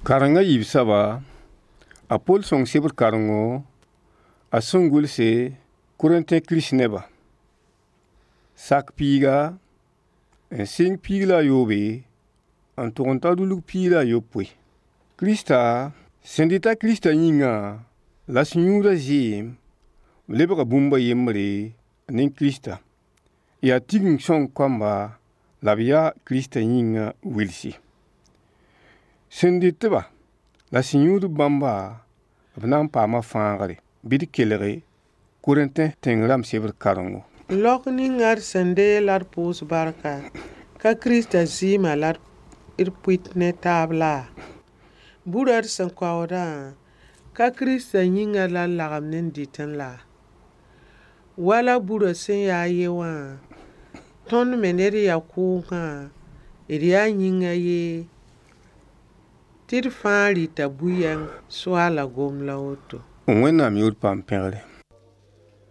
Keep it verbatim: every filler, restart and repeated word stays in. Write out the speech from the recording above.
Kareng a yiib soaba, a Pol sõng sebr karengo a sẽn gʋlse Korẽntẽ kirist-nebã. Sak piiga n sɩng piig la a yoobe n tʋg n ta rulg piig la a yopoe. Krista sẽn dɩta Krista yĩngã la sẽn yũud a zɩɩm, b lebga bũmb a yembre ne Krista. Yaa Tigeng sõng kamba la b yaa Krista yĩngã wilsi. Sẽn dɩt-ba la sẽn yũud bãmba, b na n paama fãagre. Bɩ d kelge Korẽntẽ tẽng rãmb sebr karengo. Laok ninga d sẽn deeg la d pʋʋs barka, ka Krista zɩɩmã la d pʋɩt ne taab laa? Burã d sẽn kaoodã, ka Krista yĩngã la d lagem n dɩtẽ laa? Wala burã sẽn yaa a ye wã, tõnd me ne d yaa kʋʋngã, d yaa yĩngã ye tɩ d fãa rɩta bu-yɛng Soaala gom la woto. Wẽnnaam yʋʋr paam pẽgre.